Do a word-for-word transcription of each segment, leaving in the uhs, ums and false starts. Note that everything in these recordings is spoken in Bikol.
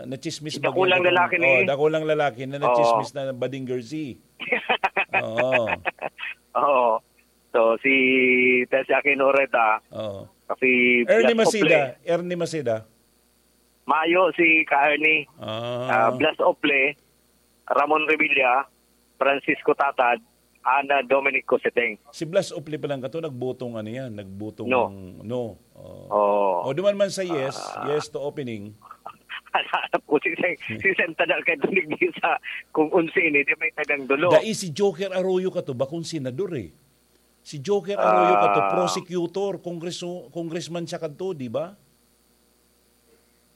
Nachismis ba dakulang lalaki ni, oh, dakulang lalaki na nachismis na bading girl si. Oo. Oo. So, si Tessie Aquino Oreta, oo, si Ernie Blas Maceda, Ople. Ernie Maceda. Mayo si ka Ernie. Ah. Ah, Blas Ople, Ramon Revilla, Francisco Tatad, Ana Dominic Coseteng. Si Blas Ople pa lang kato, nagbotong ano yan, nagbotong no. No. Oh. Oh. O, duman man sa yes, ah, yes to opening. Alam ko, si Sen-, si Sen Tadal kay tunig di sa kung unsi ini, di may tagang dulo. Dai si Joker Arroyo kato, bakong senador eh. Si Joker Arroyo kato, ah, prosecutor, kongreso-, congressman siya kadto, di ba?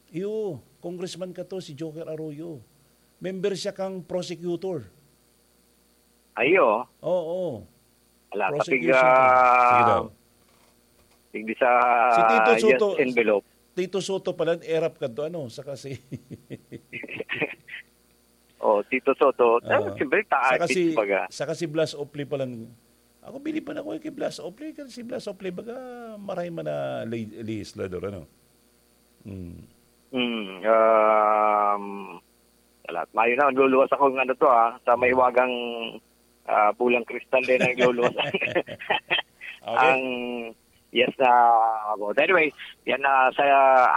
Iyo, congressman kato, si Joker Arroyo. Member siya kang prosecutor. Ayo. Oo. Ala, prosecution tapig, ah, team. Sige daw. Tigdi sa si Tito Soto, yes envelope. Tito Soto pala, erap kadto, ano, saka si Oh, Tito Soto. Ah. Siyempre, taas, saka si, baga. Saka si Blas Ople pala. Ako, bilib man ako kay Blas Ople, kasi si Blas Ople, baga, maray man na le-, legislador, ano? Mm. Mm, um, wala. Mayo na, nagluluwas ako ng ano to, ah, sa may hiwagang, ah, pulang kristal din ang nagluluwas. Okay. Ang, yes, ah, about. Anyway, yan, ah, sa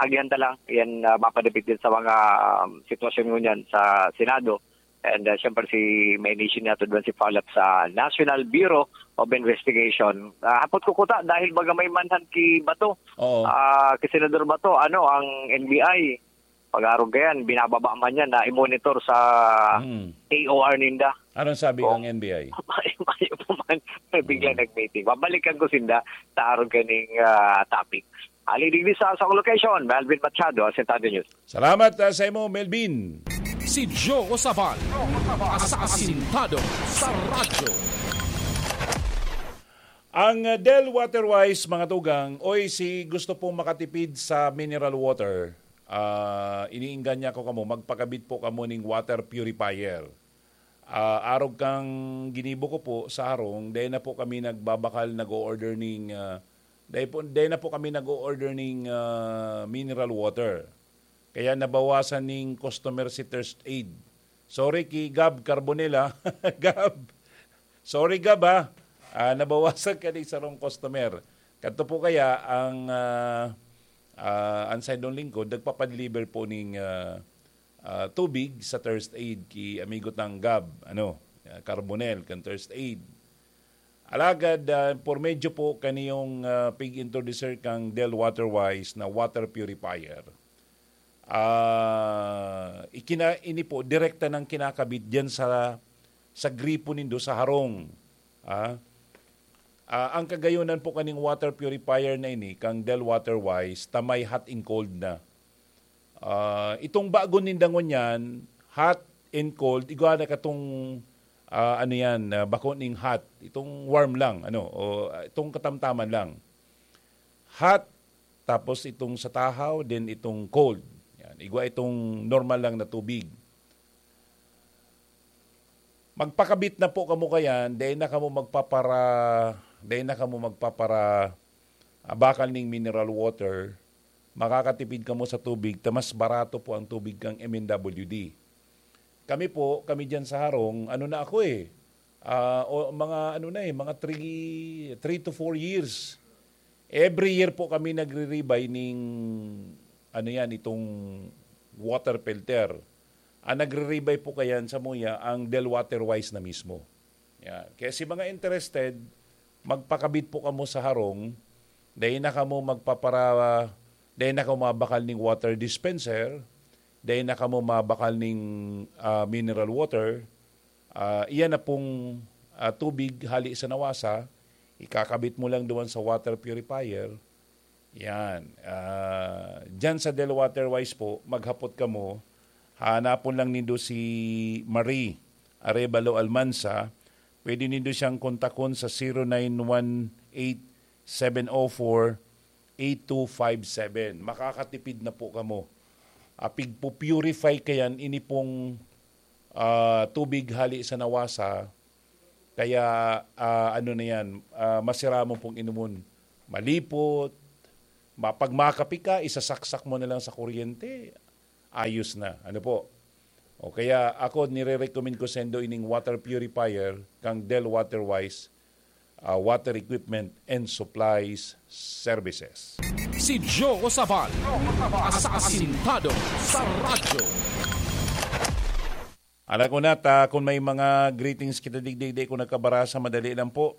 agihan ta lang, yan, ah, mapadapit din sa mga, um, sitwasyon ngunyan sa Senado. And, uh, siyempre, si, may mission niya to doon si follow-up sa National Bureau of Investigation. Ah, hapot ko kuta, dahil baga may manhunt ki Bato. Oo. Ah, ki Senador Bato, ano, ang N B I, pag-arog ka yan, binababa man yan na i-monitor sa Hmm. A O R ninda. Anong sabi Oh. ng N B I? Mayo, mayo pa man, may biglang Hmm. nag-meeting. Babalikan ko sinda sa arog kaning, ah, topic. Ali digdi sa, sa location, Melvin Machado, Asentado News. Salamat, ah, sa imo, Melvin. Si Joe Sabal, sa Asintado sa Radyo. Ang, ah, Del Waterwise, mga tugang, oy, si gusto pong makatipid sa mineral water, ah, iniingganya ko kamo, magpakabit po kamo ning water purifier. Ah, arog kang ginibo ko po sa harong, dai na po kami nagbabakal, nag-o-order ning, ah, dai po, dai na po kami nag-o-order ning, ah, mineral water. Kaya nabawasan ning customer si Thirst Aid. Sorry ki Gab Carbonella. Gab, sorry Gab ha. Ah, nabawasan ka ning sarong customer. Kadto po kaya ang, ah, ah, ang saindong lingkod, nagpapadeliver po ning, ah, ah, tubig sa Thirst Aid ki amigo tang Gab, ano, ah, Carbonel, kan Thirst Aid. Alagad, ah, por medyo po kaniyong, ah, pig-introducer kang Del Waterwise na water purifier. Ah, ikina-, ini po, direkta nang kinakabit diyan sa, sa gripo nindo sa harong. Ah, ah, ang kagayonan po kaning water purifier na ini, kang Del Waterwise, ta may hot and cold na. Ah, itong bago ninda ngunyan, hot and cold, igwa na katong, ah, ano yan, ah, bako ning hot, itong warm lang, ano, o, ah, itong katamtaman lang. Hot, tapos itong sa tahaw, then itong cold. Yan, igwa itong normal lang na tubig. Magpakabit na po kamo kayan, dai na kamo magpapara-, dai na kamo magpapara-, ah, bakal ning mineral water. Makakatipid kamo sa tubig, ta mas barato po ang tubig kang M N W D. Kami po, kami diyan sa harong, ano na ako eh, ah, o, mga ano na eh, mga three, three to four years. Every year po kami nagre-rebuy ning, ano yan, itong water filter. Ang nagre-rebuy po kayan sa muya, ang Del Water Wise na mismo. Yan. Kaya si mga interested, magpakabit po kamo sa harong, dai na kamo magpapara-, dai na kamo mabakal ning water dispenser, dai na kamo mabakal ning, ah, mineral water. Ah, iyan na pong, ah, tubig hali sa nawasa, ikakabit mo lang duman sa water purifier. Yan. Ah, diyan sa Del Water Wise po, maghapot kamo. Hanapon lang nindo si Marie Arevalo Almanza. Pwede nindo siyang kontakon sa zero nine one eight, seven oh four, eight two five seven. Makakatipid na po kamo. Ah, pigpo-purify kayan, ini pong, ah, tubig hali sa nawasa. Kaya, ah, ano na yan, ah, masira mo pong inumun. Malipot, ma-, pag makape ka, isasaksak mo na lang sa kuryente. ayos na. Ano po? O kaya ako, nire-recommend ko sendo ining water purifier kang Del Water Wise, ah, Water Equipment and Supplies Services. Si Joe Sabal, asasintado sa radyo. Alam ko na, ta, kung may mga greetings kita digdi, di ko nagkabarasa, madali lang po.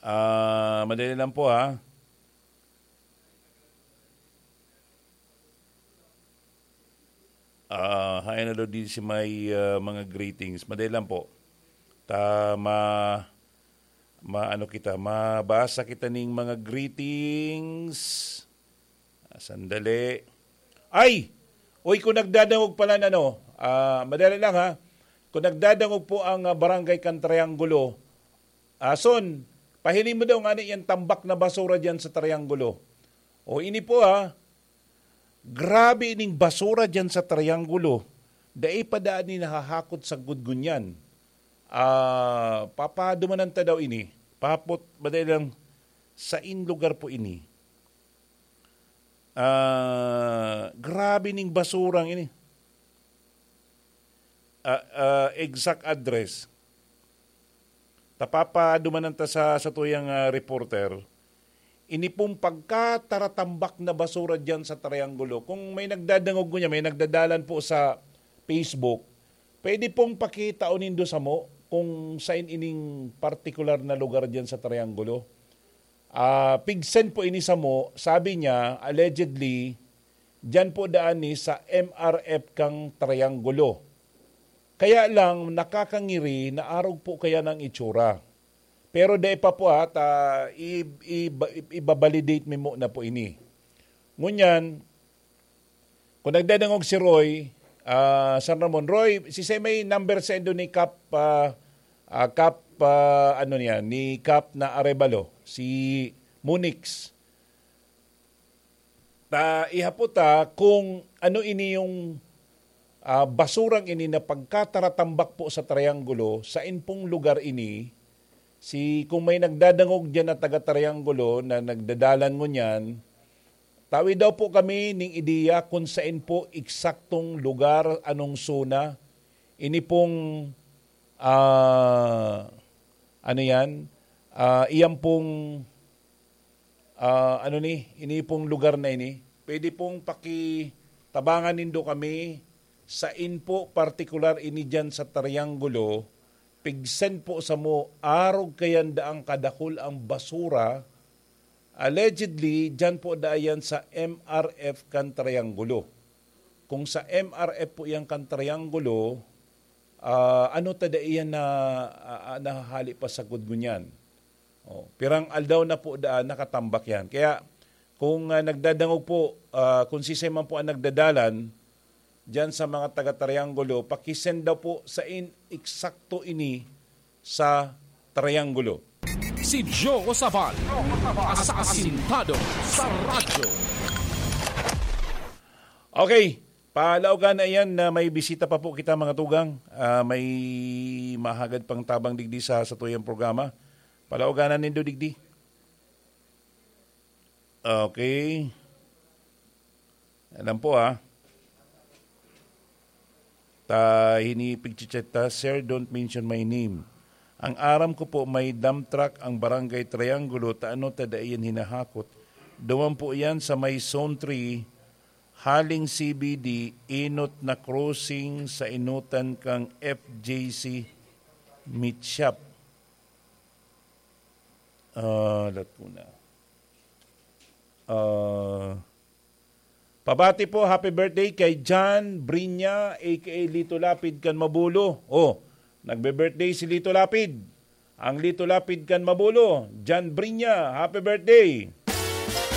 Ah, madali lang po, ha. Ah, hain na daw di si may, ah, mga greetings. Madali lang po. Ta, ma-, ma-, ano kita, mabasa kita ning mga greetings. Ah, sandali. Ay! Uy, kung nagdadangog pala na, no, ah, madali lang, ha. Kung nagdadangog po ang, ah, barangay kan Triangulo, ah, Son, pahiling mo daw ngani yan tambak na basura diyan sa Triangulo. O, ini po, ha. Grabe ining basura diyan sa Triangulo. Dai pa daan ni nahahakot sa gudgunyan. Ah, papadumanan ta daw ini. Papot, madali lang, sain lugar po ini? Ah, grabe ning basurang ini. Ah, ah, exact address. Tapapadumanan ta sa, sa tuyang, ah, reporter. Ini pong pagkataratambak na basura diyan sa Triangulo. Kung may nagdadangog ko niya, may nagdadalan po sa Facebook, pwede pong pakita o nindo samo kung saan ining partikular na lugar diyan sa Triangulo. Ah, pigsen po ini samo, sabi niya, allegedly, diyan po daan ni sa M R F kang Triangulo. Kaya lang, nakakangiri na arog po kaya ng itsura. Pero dai pa po, ha, ta, i-, i-, ibabalidate mi muna po ini. Ngunyan, kung nagdadangog si Roy, ah, San Ramon, Roy, si may number sendo ni Kap, ah, ah, Kap, ah, ano niya, ni Kap na Arevalo, si Munix. Ta, ihapot ta kung ano ini yung, ah, basurang ini na pagkataratambak po sa Triangulo, sain pong lugar ini, si, kung may nagdadangog diyan na taga Triangulo na nagdadalan ngunyan, tawi daw po kami ning ideya kung sain po eksaktong lugar, anong zona. Ini pong, ah, ano yan? Ah, iyan pong, ah, ano ni, ini pong lugar na ini. Pwede pong pakitabangan nindo kami sain po partikular ini diyan sa Triangulo. Pigsen po samo, arog kayan daang kadakul ang basura. Allegedly, diyan po daan yan sa M R F kan Triangulo. Kung sa M R F po yan kan Triangulo, ah, ano ta dai yan na, ah, ah, nahahali pa sa gudgunyan? Oh, pirang aldaw na po daan nakatambak yan. Kaya kung, ah, nagdadangog po, ah, kung sisay man po ang nagdadalan diyan sa mga taga Triangulo, pakisend daw po sain eksakto ini sa Triangulo. Si Joe Sabal, asasintado sa radyo. Okay, palaugan na yan na may bisita pa po kita, mga tugang. Ah, may mahagad pang tabang digdi sa satuyang programa. Palauganan nindo digdi. Okay. Alam po, ah. Ta, hini pigchichet ta, "Sir, don't mention my name." Ang aram ko po, may dump truck ang Barangay Triangulo, ta ano ta dai yan hinahakot. Duman po yan sa may Zone three, haling C B D, inot na crossing sa inutan kang F J C Meat Shop. Ah, lat ko na. Ah, pabati po, happy birthday kay John Brinya, A K A Lito Lapid kan Mabulo. Oh, nagbe-birthday si Lito Lapid. Ang Lito Lapid kan Mabulo, John Brinya, happy birthday.